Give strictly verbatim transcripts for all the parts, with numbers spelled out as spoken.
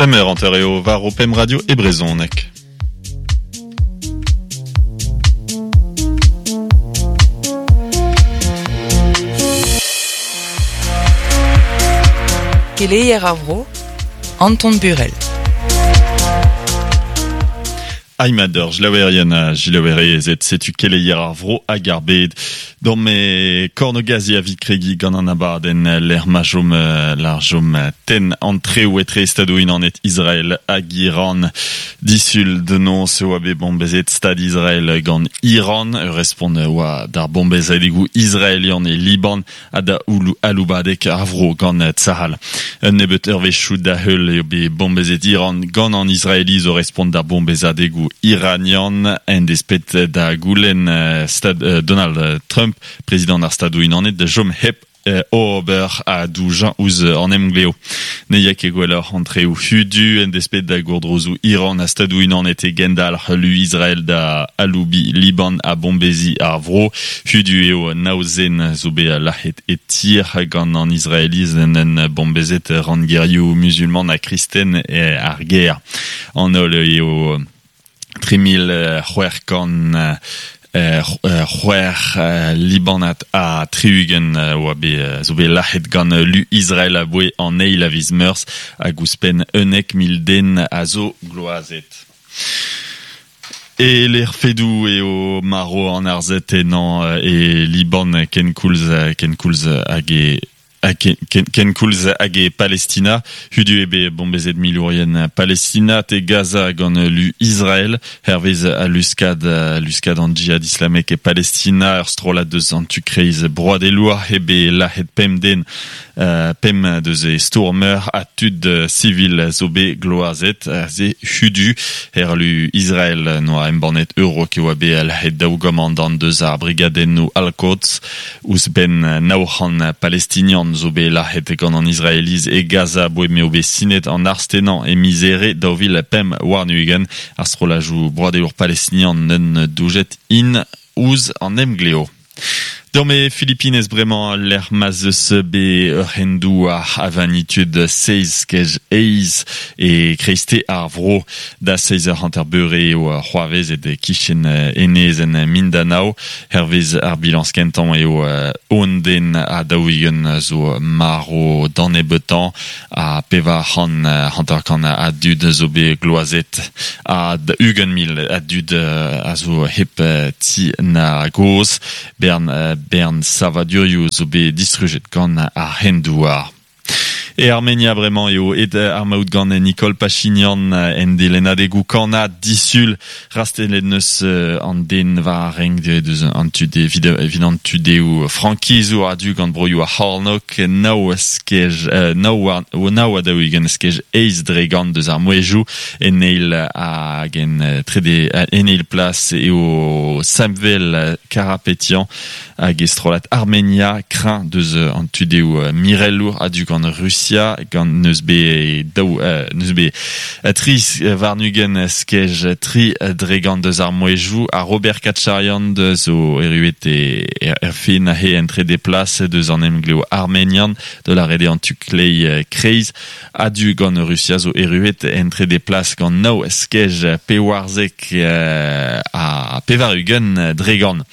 Pemp eur hanter eo war o pemp radio e brezhoneg. Keleier ar vro, Anton Burel. Aimador, jlaouerien a jilaouerezet, setu keleier ar vro hag ar bed. D'an me kornogazi a vit kregi gant an abadenn l'er majom larjom ten entreoù etre stadoù unanet Israel hag Iran. Disul de non se oa bet bombezet stad Israel gant Iran, respont oa d'ar bombezadegoù israelian e Liban ha da oulou aloubadek ar vro gant Tsahal. Un nebeut eurvezhioù da heul eo bet bombezet Iran gant an Israeliz o respont d'ar bombezadegoù iranian en despet da goulenn stad Donald Trump, prezident ar stadoù unanet da jom hep ober a doujañ ouzh an emgleo. Ne ya ket gwelloc'h antreoù hudu en despet da gourdrozoù Iran a stadoù unanet e gendalc'h lu Israel da aloubi Liban a bombezi ar vro. Hudu eo naozen zo bet lac'het e tir gant an Israeliz en en bombezet ranngerioù musulman ha kristen e ar ger. An holl eo tri mil c'hwec'h kant c'hwec'h Libanat ha tri-ugent oa bet zo bet lac'het gant lu Israel a boe an eil a viz Meurzh hag ouzhpenn unnek mil den a zo gloazet. E l'er fedoù eo maro an arzet enañ e Liban ken koulz ken koulz hag e Ken, ken, ken koulz hag e Palestina, hudu eo bet bombezet milourien Palestina te Gaza gant lu Israel, hervez a luskad, luskad an djihad islamek e Palestina, ur strollad deus an tu-kreiz broadelour eo bet lac'het pemp den, uh, pemp deus e stourmer ha tud sivil zo bet gloazet, ze hudu, her lu Israel noa embannet euro ke oa bet lac'het daou gomandant deus ar brigadennoù Al-Quds, ouzh ben nav c'hant palestinian zo bet lac'het gant an Israeliz e Gaza boe m'eo bet sinet an arstenañ e mizere daou vil pemp warn-ugent ar strollajoù broadelour palestinian neun doujet in ouzh an emgleo. Dorme Philippines bremañ l'er ma'z eus bet ur hendoù ar avanitud seizh kej eizh e kreiste ar vro da seizh eur hanter beure eo c'hoarvezet e kichen enezenn Mindanao. Hervez ar bilañs kentañ eo un den ha daou-ugent zo maro d'an nebeutañ ha pevar c'hant hanter-kant a dud zo bet gloazet ha ugent mil a dud a zo hep ti na goz. Bern Bern savadurioù zo bet distrujet gant ar hendouar. E Armenia bremañ eo et ar maout gant Nicole Pachinian en delennadegoù kannad disul rastelet neus an den war renk deus an tu de evit an tu deoù frankizour a-du gant broioù ar c'hornôg nav skej nav nav a daou-ugent skej eizh dre gant deus ar mouezhioù en eil hag en trede en eil plas eo Samvel Karapetian hag e strollad Armenia kreñv deus an tu deoù mirelour a-du gant Russia gant neus bet daou neus bet tri warn-ugent skej tri dre gant deus ar mouezhioù ha Robert Kacharian zo erruet e er fin he en trede plas deus an emgleo armenian de la rede an tu klei kreiz a-du gant Russia zo erruet en trede plas gant nav skej pewarzek ha pevar-ugent dre gant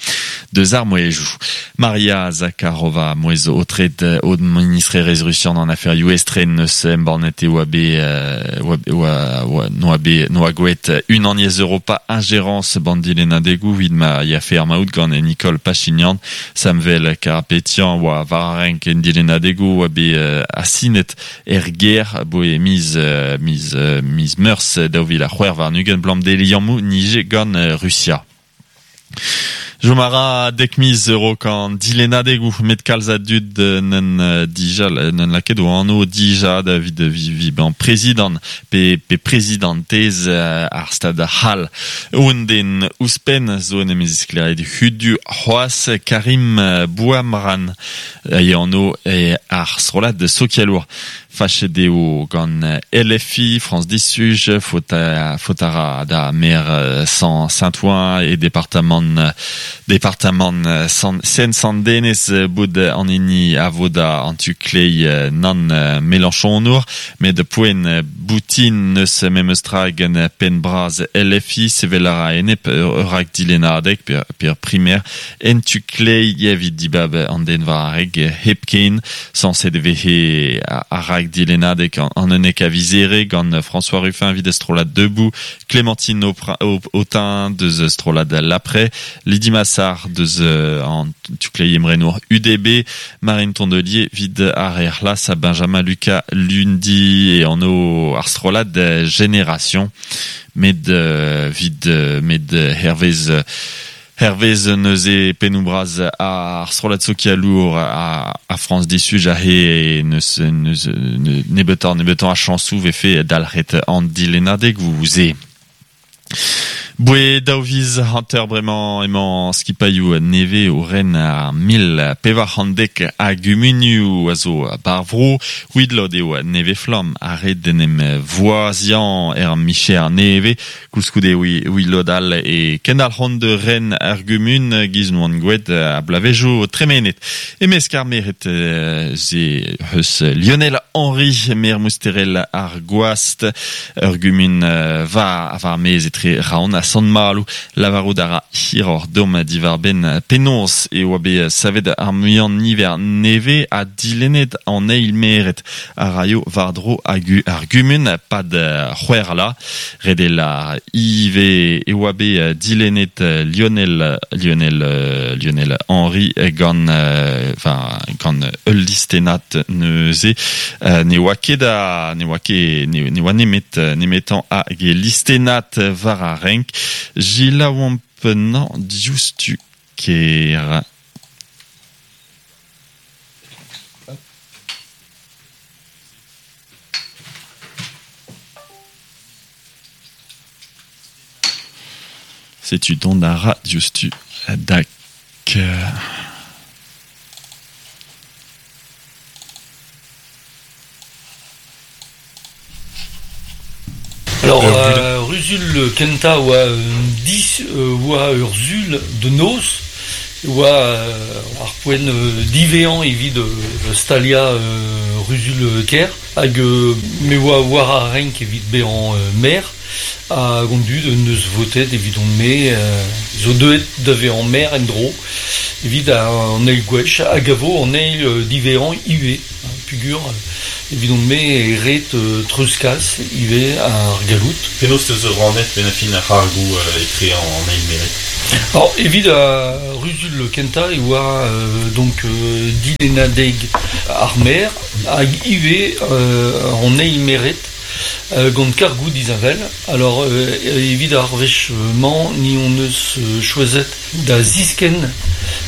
deus ar mouezhioù. Maria Zakharova mouezh o tred o ministrerez russian an aferioù estren neus embannet eo oa bet oa noa bet noa gouet unaniezh Europa ingérence bandilennadegoù evit ma ya fe ar maout gant Nicole Pachinian Samvel Karapetian oa war ar renk en dilennadegoù oa bet asinet er ger boe miz miz miz Meurzh daou vil c'hwec'h warn-ugent blam de liammoù nije gant Russia. Jomara dek miz euro kan dilennadegoù met kalz a dud n'en dija n'en laket o anv dija da vid vi ban prezidant pe pe prezidantez ar stad c'hall. Un den ouzhpenn zo en em zisklêriet hudu c'hoazh Karim Bouamran e anv e ar strollad sokialour. Fachet eo gant L F I, France Disuj, faot a ra da maire Saint-Ouen e departamant, departamant Seine-Saint-Denis bout an hini a vo da an tu klei nan Mélenchon-our, met poent boutin neus memes tra gant penn braz L F I, sevel a ra enep ur rak dilennadeg per, per primaire en tu klei evit dibab an den war ar reg hepken, sañset e vehe ar rak dilennadeg an unnek a vizere gant François Ruffin evit strollad Debout, Clémentine Autain deus strollad L'Après, Lydie Massard deus an tu klei emrenour U D B, Marine Tondelier vid ar Erlas a Benjamin Lucas Lundi e an o ar strollad Génération, med vid med Hervez Hervez neuze pennoù braz ar strollad sokialour a, a France Disuj a he neus, neus, nebeutañ nebeutañ a chañsoù vefe dalc'het an dilennadeg vous e. Boe daou viz hanter bremañ emañ skipailhoù neve o ren ar mil pevar c'hant dek a gumunioù a zo bar vro, widlod eo neve flamm a red en em voaziañ er micher neve, koulskoude widlod all e kendal c'hant de ren ar gumun giz noan gwet a blavejo tremenet. Emesk ar meret ze eus Lionel Henry, mer mousterel ar gwast, ur gumun va var mez etre raon a Sant-Maloù, lavarout a ra hiroc'h dom diwar ben penaos e oa bet savet ar muiañ niver neve a dilennet an eil meret a raio war-dro ar gumun pad c'hwec'h la. Redel ar ive e oa bet dilennet Lionel, Lionel, Lionel Henry gant, enfin, gant ul listennad neuze ne oa ket a, ne oa ket, ne oa nemet, nemetan hag e listennad war ar renk. Gilaouamp nan diouzhtu ker. Setu dont a ra diouzhtu dak. Alors, euh, Ruzul kenta oa dis oa ur zul de noz, oa ar poent divean evit stalia Ruzul ker, hag me oa war ar renk evit bezañ mer, hag on dud neus votet evit on me, zo deuet da vezañ mer en dro, evit an eil gwech, hag a vo an eil divean ivez, pugur, evit on me e ret treuzkas ivez ar galout. Penaos teus rannet ben a fin ar c'hargoù etre an eil meret? Alors, evit a Ruzul kenta e oa euh, donc euh, dilennadeg ar mer hag ivez euh, an eil meret euh, gant kargoù disheñvel. Alors euh, evit ar wech-mañ ni on eus euh, choazet da zisken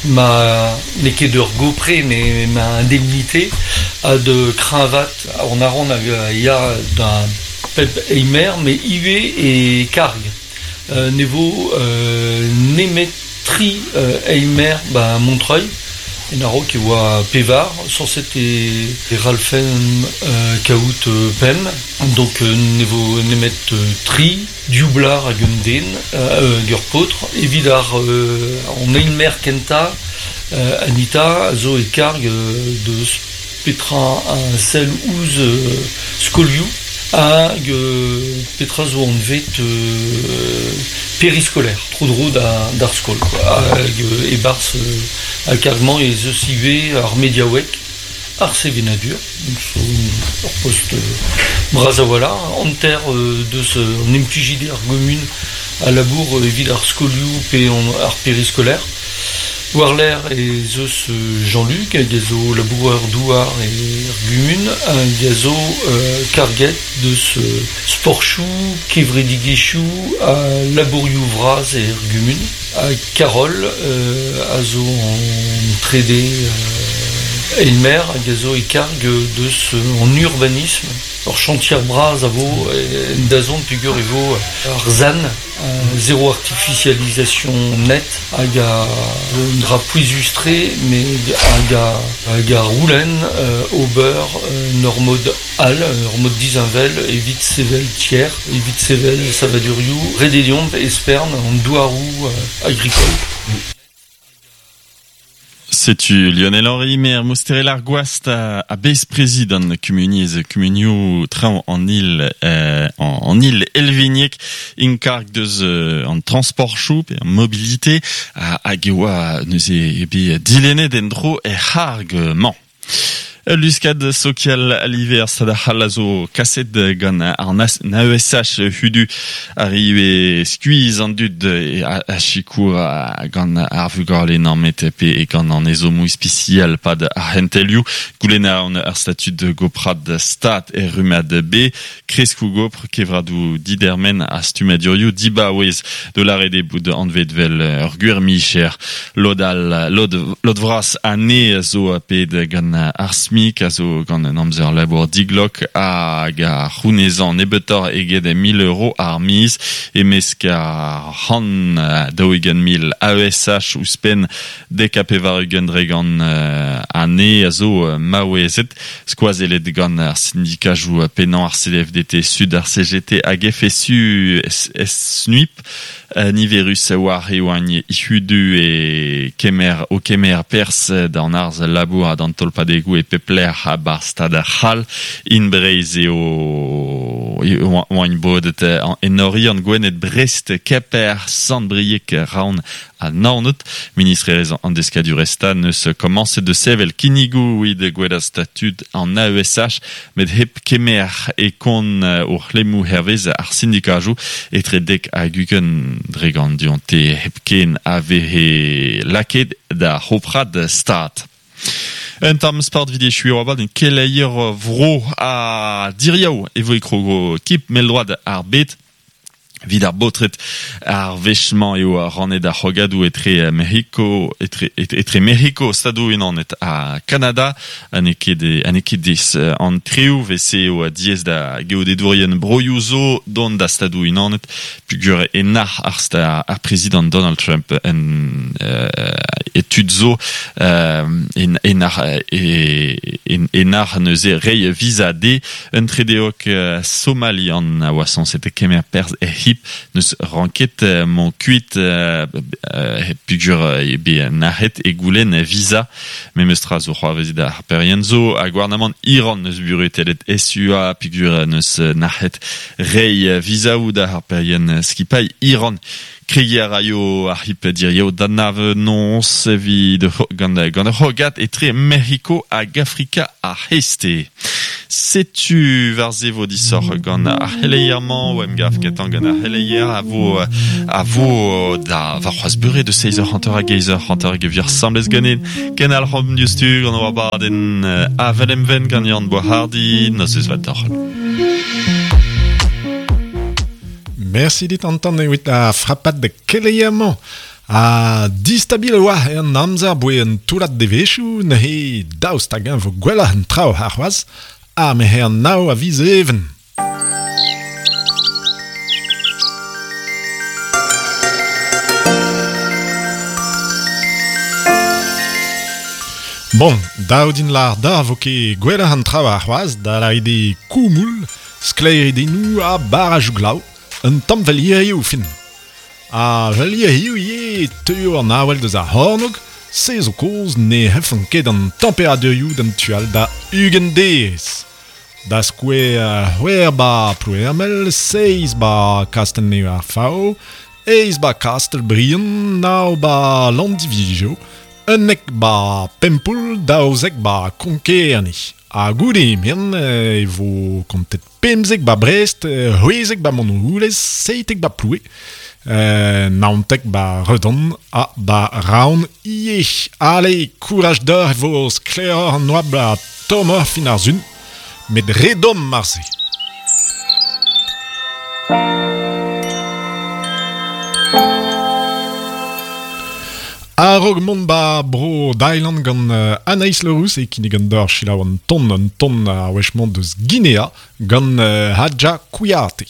ma n'eo ket ur gopre mais ma indemnité a de kreñvat an aran hag ya da pep eimer mais ivez e karg. Euh, ne vo euh, nemet tri euh, eimer ba Montreuil en a-raok e oa pevar, sañset e, e ralfen euh, kaout euh, pem, donc euh, ne vo nemet euh, tri, dioublar hag un den, euh, ur paotr, evit ar euh, an eilmer kenta euh, Anita a zo e karg euh, de petra a sell ouzh euh, skolioù hag euh, petra zo anvet euh, périscolaire, tro-dro da, d'ar skol, quoi. Hag euh, e-barzh euh, a kargmañ ez eus ivez ar mediaoueg, ar sevenadur, donc zo ur post euh, bras a-walc'h, hanter euh, deus euh, an implijidi ar gomun a labour euh, evit ar skolioù pe an, ar périscolaire. War l'air ez eus Jean-Luc, hag a zo labourer douar e ar gumun, hag a zo euh, karget deus euh, sportchoù, kevredigezhioù ha labourioù vras e ar gumun. Ha Carole euh, a zo an trede euh, eilmer hag a zo e karg deus an urbanisme. Ur chantier bras a vo en dazont pugur e vo ar zan, zéro artificialisation net hag a un dra pouezustre met hag a, hag a roulen ober ur mod al, ur mod dizinvel evit sevel tier, evit sevel savadurioù, redeliomp espern an douarou agricole. Setu Lionel Henry, maire Mousterel ar Gwast a, a bez prezident kumuniez kumunioù traoñ an île euh, en, en île Elvignek inkarg deus euh, an transport chou pe an mobilité a hag e oa neuze e bet dilennet en dro er c'harg mañ. Luskad sokial aliver stad a zo kaset gant ar A E S H hudu arrive skuiz an dud a, a chikour gant ar vugale nammet pe e gant an ezomou ispicial pad ar hentelioù goulenn an ar statud de goprad stat er rumad B kreskou gopr kevradou didermen a stumadurioù dibaouez de l'arrêt bout anvet vel ur gwir micher lod al lod, lod vras ane zo ped gant ar a zo gant an amzer labour diglok hag a c'hounezan nebeutoc'h eget mil euro ar miz e mesk ar c'hant daou-ugent mil A E S H ouzhpenn dek ha pevar-ugent dre gant ane a zo maouezet skoazellet gant ar syndikajoù pennañ ar C F D T Sud ar C G T hag F S U S N U I P niverus war e oagn ihudu e kemer o kemer pers d'an arz labour ha d'an tolpadegoù e pepler a bar stad ar c'hall in Breiz eo oagn bodet en Oriant Gwened Brest Keper Sant-Brieg Raon a Naoned ministrerez an deskadurezh neus komañset de sevel kinnigoù evit gwella statud an A E S H met hep kemer e kont o c'hlemmoù hervez ar syndikajoù etre dek hag ugent dre gant dionte hepken a vehe lakaet da c'hoprad stad. Un tamm sport vide chuir oa bat keleier vro a diriaou e vo e krogo kip meldroad ar bet vid ar botret ar vechman eo ar rannet ar c'hogadou etre Mexico etre, etre Mexico Stadoù Unanet ha Canada ane ket ane ket des an trioù vese eo diez da geodedourien broioù zo dont da Stadoù Unanet pugur e nac'h ar sta ar prezident Donald Trump en euh, etud zo euh, en en nac'h e en nac'h neuze rei visa D un tredeok somalian a oa sañset kemer perzh e hip neus ranket mon kuit euh, pugur e be nac'het e goulenn visa memes tra zo c'hoarvezet ar perien zo a gouarnamant Iran neus buretelet S U A pugur neus nac'het rei visa ou da ar perien skipailh Iran Kregiñ a raio ar hip dirio d'an nons evit gant gant ar c'hogat etre Mexico hag Afrika ar Heste. Setu war ze vo disoc'h gant ar c'heleier-mañ o emgav ketañ gant ar c'heleier a vo a vo da war c'hoazh beure de seiz eur hanter hag eizh eur hanter hag evir samblez ganin ken al c'hom diouzhtu gant war badenn avel emven gant Yann Boishardy nozvezh vat deoc'h. Merci dit Anton evit a frappat de keleier-mañ. A distabil oa an amzer boe un toullad devezhioù neuze daoust hag-eñ vo gwelloc'h an traoù ar c'hoazh ha me an nav a viz even. Bon, daou din lar da vo ket gwelloc'h an traoù ar c'hoazh da lâret koumoul, sklaeridennoù ha barrajoù glav, un tamm vel hiziv fin. A vel hiziv ivez teuio an avel deus ar c'hornôg, se zo kozh ne c'hellfont ket an temperadurioù d'an tu all da ugent derez. Da skouer c'hwec'h ba Ploermel, seizh ba Kastell-Nev ar Faou, eizh ba Kastell-Briant, nav ba Landivizio, unnek ba Pempoull, daouzek ba Konk-Kerne. Ha goude emian e vo kontet pemzek ba Brest, c'hwezek ba Montroulez, seitek ba Ploue, euh, naontek ba Redon ha ba Raon ivez. Ale, kouraj deoc'h e vo sklaeroc'h an oabl ha tommoc'h fin ar sun, met re domm marse. Ya rog mont ba bro Thailand gant uh, Anaïs Leroux e kinnig an d'or chilaou an ton an ton a wechmont deus Guinea gant uh, Hadja Kouyaté.